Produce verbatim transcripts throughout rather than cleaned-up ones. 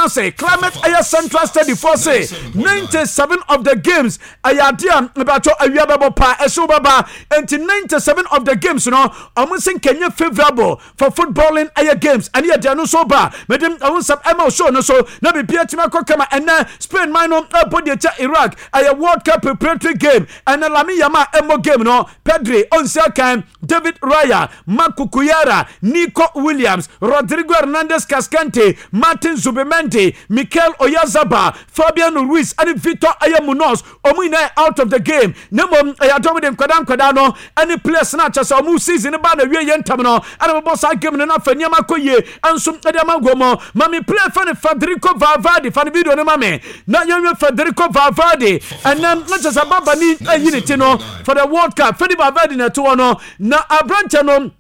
atena se climate ɛyɛ central study foɔ se ninety-seven of the games ɛyɛ adeɛ a mebatɔ awia bɛbɔ paa, ɛhyew bɛba. Nti ninety-seven of the games no, ɔmo nse nkɛnyɛ favourable for footballing ɛyɛ games. Ɛne yɛ deɛ no nso ba mede ɛho nsɛm ɛma wo show no so na biribia atumi akɔ kama. Ɛnɛ Spain man no ɛbɔ deɛ kyɛ Iraq, ɛyɛ World Cup preparatory game. Ɛnɛ Lamine Yamal ɛmmɔ game no, Pedri ɔnsi akan, David Raya, Marc Cucurella, Nico Williams, Rodrigo Hernandez Cascante, Martin Zubimendi, Mikel Oyarzabal, Fabian Ruiz ɛne Victor ɛyɛ Munoz, ɔmo nyinaa out of the game. Na mmom ɛyɛ adɔm de nkwadaa nkwadaa no ɛne players no akyɛ sɛ ɔmo season ba na wie yɛ ntam no ɛna bɛbɔ saa game no na afɛ nneɛma kɔ yie ɛnso ɛde ama nkɔ mu. Mami player fɛ ne Federico Valverde, fa ne video no ma me na yɛnhwɛ Federico Valverde. Ɛnɛ na kyɛ sɛ baba ni ayi ne ti no for the World Cup. Fede Valverde na ɛto hɔ no na aberanteɛ no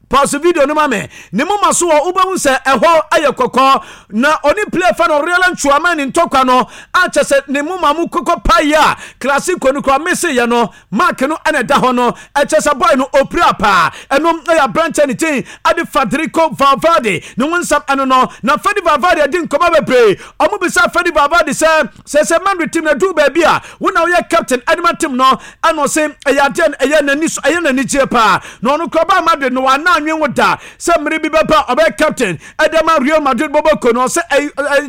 pause video no ma me. Ne moma so wɔ wobɛhu sɛ ɛhɔ ayɛ kɔkɔɔ na ɔne player fa no Aurelien Tchouameni ntɔkwa no akyɛ sɛ ne moma mu kɔkɔ paeɛ a Classico no kora meseyɛ no mark no ɛna ɛda hɔ no. Ɛkyɛ sɛ boy no opira paa. Ɛno ɛyɛ aberanteɛ ne din ade Federico Valverde ne ho nsɛm ɛno no. Na Fede Valverde adi nkɔmɔ bebree. Ɔmo bisa Fede Valverde sɛ sɛ sɛ Madrid team na du baabi a wo na woyɛ captain ɛde team no, ɛna ɔse ɛyɛ adeɛ ɛyɛ n'ani so, ɛyɛ n'ani gye paa na ɔno kora baa Madrid no wana anwen wo da sɛ mmere bi bɛba ɔbɛyɛ captain ɛde ma Real Madrid bɔbɔ no. Ɔsɛ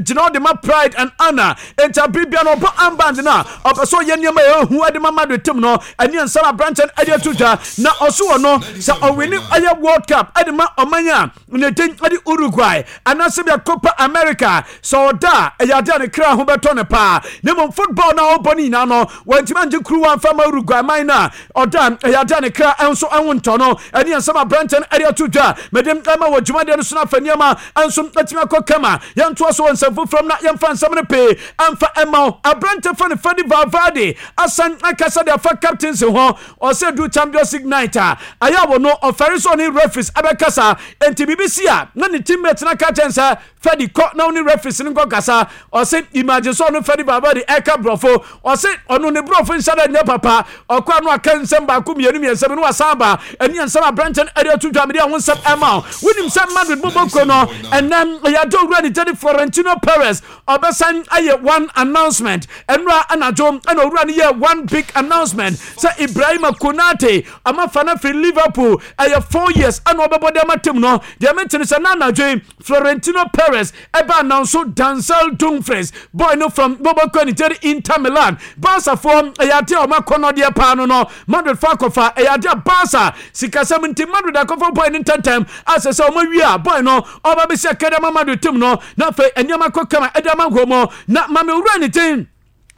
gyina ɔde ma pride and honor, nti abere bia no ɔbɔ armband no a ɔpɛ sɛ ɔyɛ nneɛma yɛ ehu ɛde ma Madrid team no. Ɛne nsɛm aberanteɛ no ɛde ato dwa na ɔso wɔ no sɛ ɔwin ɛyɛ World Cup ɛde ma ɔman a ne din ɛde Uruguay anaasɛ bia Copa America sɛ ɔda a, ɛyɛ adeɛ a ne kra ho bɛtɔ ne paa. Na mmom football no a ɔbɔ no nyinaa no, wɔntumi angye kuruwa mfa ma Uruguay man no a ɔda, ɛyɛ adeɛ a ne kra nso ɛho ntɔ no. Ɛne nsɛm aberanteɛ no ɛde ato dwa mede ɛma wɔ dwumadeɛ no so no afa nneɛma nso atumi akɔ kama. Yɛntoa so wɔ nsɛm foforɔ mu na yɛmfa nsɛm no pii ɛmfa ɛma wo. Aberante fa no Fede Valverde asan akasa de afa captaincy ho. Ɔsɛ du Champions League night a ayɛ wɔ no, ɔfɛre sɛ ɔne referees ɛbɛkasa, enti biribi si a na ne teammate no aka kyɛn sɛ Fede kɔ na ɔne referees no nkɔ kasa. Ɔsɛ imagine sɛ ɔno Fede Valverde ɛka borɔfo. Ɔsɛ ɔno ne borɔfo nhyɛ dɛ nyɛ papa, ɔkɔ ano aka nsɛm baako mmienu mmiɛnsa bi no wasan ba. Ɛne nsɛm aberante no ɛde ato dwa mede ɛho nsɛm ɛma wo. Wonim sɛ Madrid bɔbɔ kuro no ɛnɛ ɛyɛ ade owura ne gyane Florentino Perez ɔbɛsan ayɛ one announcement. Ɛnura anadwo ɛna owura no yɛ one big announcement sɛ Ibrahima Konate amafa no afiri Liverpool, ɛyɛ four years ɛna ɔbɛbɔ de ama team no. Deɛ mente no sɛ na anadwo yi Florentino Perez ɛba announce Denzel Dumfries, boy no from bɔbɔ ne Inter Milan. Barcafoɔ ɛyɛ ade a ɔma kɔnɔdeɛ paa no no Madrid fa akɔfa. Ɛyɛ ade a Barca sikasɛm nti Madrid akɔfa boy no ntɛntɛm asɛ sɛ ɔma wie a boy no ɔba bɛsi akɛdɛ ama Madrid team no na afei nneɛma kɔ kama ɛde ama nkɔ mu. Na mame owura ne din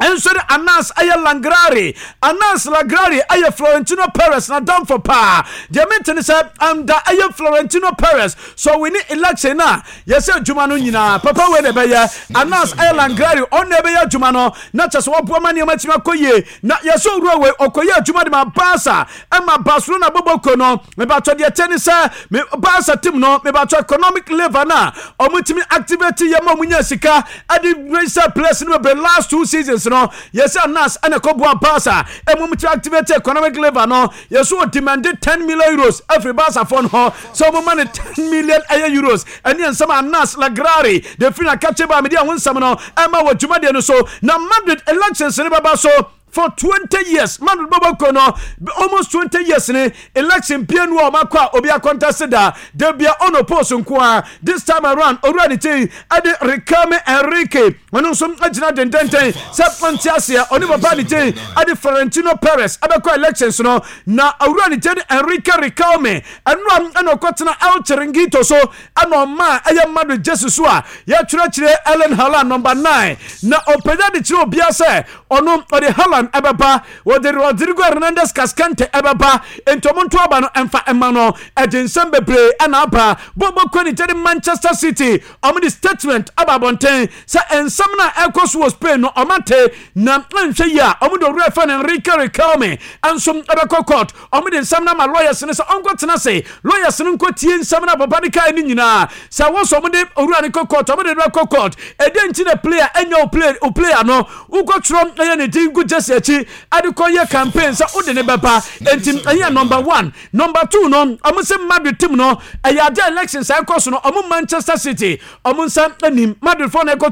nso de Anas ɛyɛ Lagrari. Anas Lagrari ɛyɛ Florentino Perez na damfo paa. Deɛ mente ne sɛ anda ɛyɛ Florentino Perez so win election a yɛsɛ adwuma no nyinaa papa wei na ɛbɛyɛ. Anas ɛyɛ Lagrari, ɔno ɛbɛyɛ adwuma no na kyɛ sɛ wɔboa ma nneɛma tumi akɔ yie. Na yɛsɛ owura wei ɔkɔyɛ adwuma de ma Barca ɛma Barcelona bɔbɔ ko no. Mebatɔ deɛ kyɛ ne sɛ Barca team no, mebatɔ economic lever no a ɔmo activate yɛ ma ɔmo nya sika ɛde register players no bebree last two seasons no, yɛsɛ Anas ɛna ɛkɔboa Barca ɛmu mu activate economic lever no. Yɛsɛ wɔ demand ten million euros afiri Barca foɔ no hɔ sɛ ɔmo ma no ten million ɛyɛ euros. Ɛne nsɛm Anas Lagrari de firi na kakye ba mede ɛho nsɛm no ɛma wɔ dwumadeɛ no so. Na Madrid elections no bɛba so for twenty years. Madrid bɔbɔ ko no almost twenty years ni election pie nu a ɔmo akɔ a obi akɔntɛse da de bia ɔno post nko a. This time around owura ne ti ɛde Riquelme Enrique, ɔno nso agyina dendenden sɛ ɔnte aseɛ ɔne papa ne ti ɛde Florentino Perez ɛbɛkɔ elections no. Na owura ne ti de Enrique Riquelme ɛnura ɛna ɔkɔtena El Chiringuito so ɛna ɔma ɛyɛ Madrid jersey so a yɛtwerɛkyerɛ Erling Haaland number nine na ɔpagya de kyerɛ obiara sɛ ɔno ɔde Haaland ɛbɛba, wɔde Rodrigo Hernandez Cascante ɛbɛba, nti ɔmo nto aba no ɛmfa ɛma no. Ɛde nsɛm bebree ɛna aba bɔbɔ kɔ ne gyɛde Manchester City. Ɔmo de statement aba abɔnten sɛ nsɛm no a ɛkɔ so wɔ Spain no ɔmo ate na nhwɛ yi a ɔmo de owura fɛ no Enrique Riquelme ɛnso ɛbɛkɔ court. Ɔmo de nsɛm no ama lawyers no sɛ ɔnkɔ tena se lawyers no nkɔ tie nsɛm no a papa no kae no nyinaa sɛ wɔn sɛ ɔmo de owura no kɔ court, ɔmo de no kɔ court. Ɛdeɛ nti na player ɛnyɛ o player o player no wokɔtwerɛ ɛyɛ ne din gu jersey akyi ɛde kɔ yɛ campaign sɛ wode ne bɛba? Enti ɛyɛ number one. Number two no, ɔmo sɛ Madrid team no ɛyɛ ade elections a ɛkɔ so no, ɔmo Manchester City ɔmo nsa anim Madrid foɔ na ɛkɔto ɔmo.